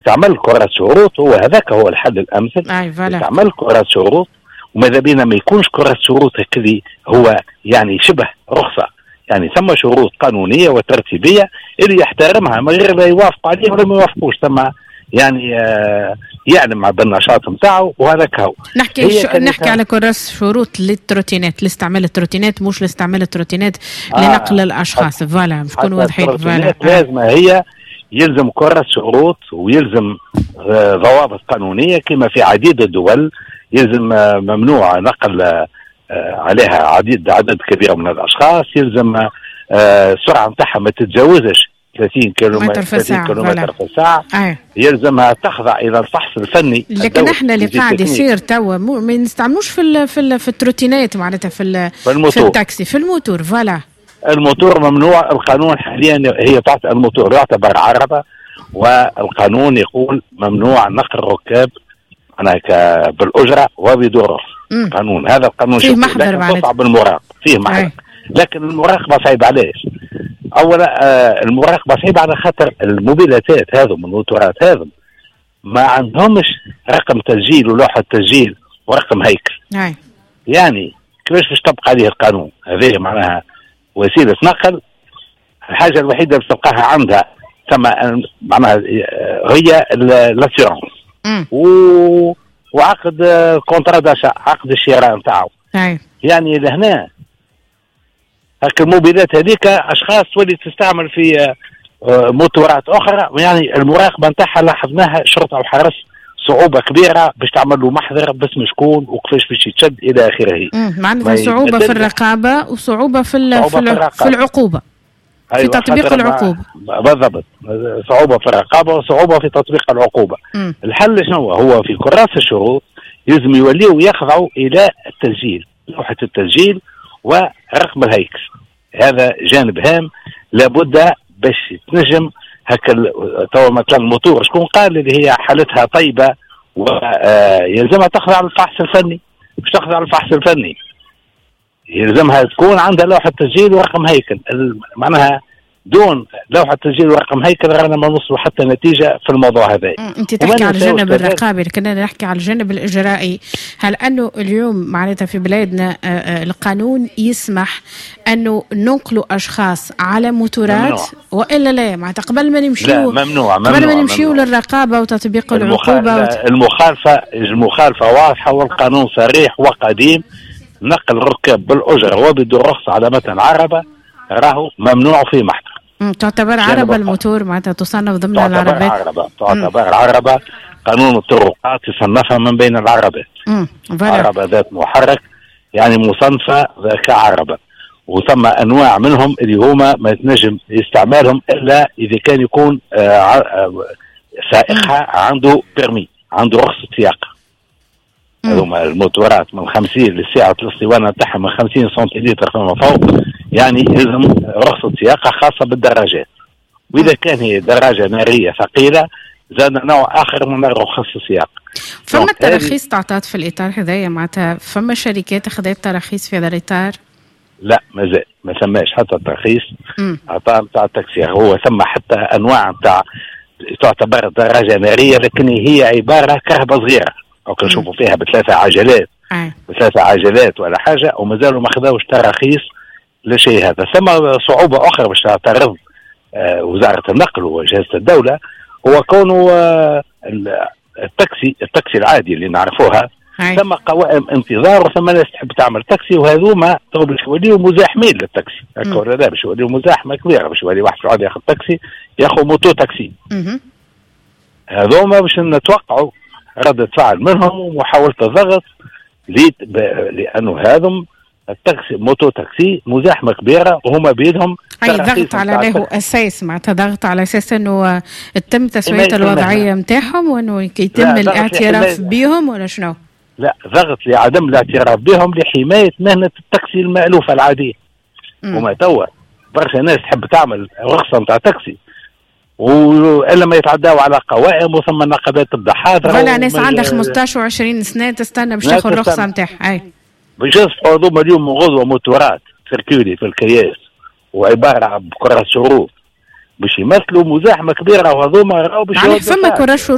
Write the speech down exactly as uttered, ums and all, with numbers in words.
تعمل كراس شروط، هو هذاك هو الحل الامثل. تعمل كراس شروط، وماذا بينا ما يكونش كراس شروط هكذا هو يعني شبه رخصه، يعني ثم شروط قانونية وترتيبيه اللي يحترمها من غير لا يوافق عليه ولا ما يوافقوش، ثم يعني آه يعلم بالنشاط نتاعو وهذاك هو. نحكي شو نحكي على كراس شروط لل trottinettes، لاستعمال ال trottinettes، مش لاستعمال ال trottinettes آه لنقل الاشخاص. voilà باش نكونوا واضحين. voilà لازم هي يلزم كراس شروط ويلزم آه ضوابط قانونية كما في عديد الدول، يلزم آه ممنوع نقل آه عليها عديد عدد كبير من الاشخاص، يلزم آه السرعة نتاعها ما تتجاوزش ثلاثين كيلومتر في الساعة، كيلومتر في الساعة. آه. يلزمها تخضع الى الفحص الفني. لكن احنا اللي قاعد يصير توا ما نستعملوش في ال في ال في ال trottinettes معناتها في في, الموتور. في التاكسي، في ال moteur. voilà ال moteur ممنوع، القانون حاليا هي تعطي الموتور يعتبر عربه، والقانون يقول ممنوع نقل الركاب معناها بالاجرة وبدون رخصه. قانون هذا القانون فيه محضر معناتها تصعب المراقبة، فيه محضر، لكن المراقبة صعيبة. علاش؟ اولا آه المراقبة صعيبة على خاطر الموبيلاتات هذو الموتورات هذو ما عندهمش رقم تسجيل ولوحه تسجيل ورقم هيكل. أي. يعني كيفاش باش تطبق عليه القانون؟ هذه معناها وسيلة نقل، الحاجة الوحيدة اللي تلقاها عندها ثم معناها هي l'assurance و... وعقد contrat d'achat، عقد الشراء نتاعو. يعني لهنا هاك الموبيلات هذيك اشخاص تولي تستعمل في موتورات اخرى، يعني المراقبة نتاعها لاحظناها شرطه وحرس صعوبة كبيرة باش تعمل له محضر باسم شكون وكيفاش باش يتشد الى اخره. معناتها صعوبة في الرقابة وصعوبة في في, في العقوبة. أيوة، في تطبيق العقوبة. بالضبط، صعوبة في الرقابة وصعوبة في تطبيق العقوبة. مم. الحل شنو هو؟ في كراس الشروط لازم يوليوا يخضعوا الى التسجيل، لوحة التسجيل ورقم الهيكل. هذا جانب هام لابد باش تنجم هكا. توا مثلا الموتور شكون قال اللي هي حالتها طيبة ويلزمها تخضع للفحص الفني؟ باش تخضع للفحص الفني يلزمها تكون عندها لوحة تسجيل ورقم هيكل. معناها دون لوحة تسجيل ورقم هيكل رانا ما نوصلوا حتى نتيجة في الموضوع هذا. انت تحكي على الجانب الرقابي، لكن انا نحكي على الجانب الاجرائي. هل انه اليوم معناتها في بلادنا القانون يسمح انه ننقلوا اشخاص على موتورات والا لا؟ معناتها قبل ما نمشيو ممنوع ممنوع قبل ما نمشيو للرقابة وتطبيق العقوبة وت... المخالفة المخالفة واضحة والقانون صريح وقديم. نقل ركاب بالاجرة وبدون رخصه على متن عربه راهو ممنوع في محضر. تعتبر عربة الموتور معناتها تصنف ضمن العربات؟ عربة، تعتبر عربة. قانون الطرقات يصنفها من بين العربات. عربة ذات محرك يعني مصنفة كعربة، وثم أنواع منهم اللي هما ما يتنجم استعمالهم إلا إذا كان يكون سائقها عنده permis، عنده رخصة سياقة. هذوما الموتورات من خمسين للساعة الاسطوانة تاعها من خمسين سنتيلتر فما فوق، يعني لازم رخصة سياقة خاصة بالدراجات. وإذا كان هي دراجة نارية ثقيلة زاد نوع آخر من رخص السياقة. فما تراخيص تعطات في الإطار هذايا؟ معناتها فما شركات أخذت تراخيص في هذا الإطار؟ لا مازال ما سماش حتى الترخيص عطاء نتاع التاكسي. هو ثم حتى أنواع نتاع تعتبر دراجة نارية لكن هي عبارة كرهبة صغيرة أو كنشوفوا فيها بثلاثة عجلات بثلاثة عجلات ولا حاجة، ومازالوا ما خذاوش تراخيص لشيء هذا. ثم صعوبة أخرى باش تعترض آه وزارة النقل وجهاز الدولة، هو كونه آه التاكسي التاكسي العادي اللي نعرفوها ثم قوائم انتظار وثم ناس تحب تعمل تاكسي، وهذوما تو باش يوليو مزاحمين للتاكسي. هكا ولا لا؟ باش يوليو مزاحمة كبيرة، باش يولي واحد يقعد ياخذ تاكسي ياخذ moto taxi. هذوما باش نتوقعوا ردة فعل منهم ومحاولة الضغط، لأنه هذم التاكسي moto taxi مزاحمة كبيرة وهما بيدهم. أي ضغط على له أساس معناتها ضغط على أساس أنه تم تسوية الوضعية نتاعهم وأنه يتم الاعتراف بهم ولا شنو؟ لا، ضغط لعدم الاعتراف بهم لحماية مهنة التاكسي المألوفة العادية. وما توا برشا ناس تحب تعمل رخصة نتاع تاكسي والا ما يتعداو على قوائم وثم النقابات تبدا حاضره. voilà ناس عندها خمسطاش وعشرين سنة تستنى باش تاخذ الرخصة نتاعها. اي باش يصبحوا هذوما اليوم غدوه موتورات circuler في الكياس وعبارة بكرة شروط باش يمثلوا مزاحمه كبيره، وهذوما راهو باش يعني فما كراس.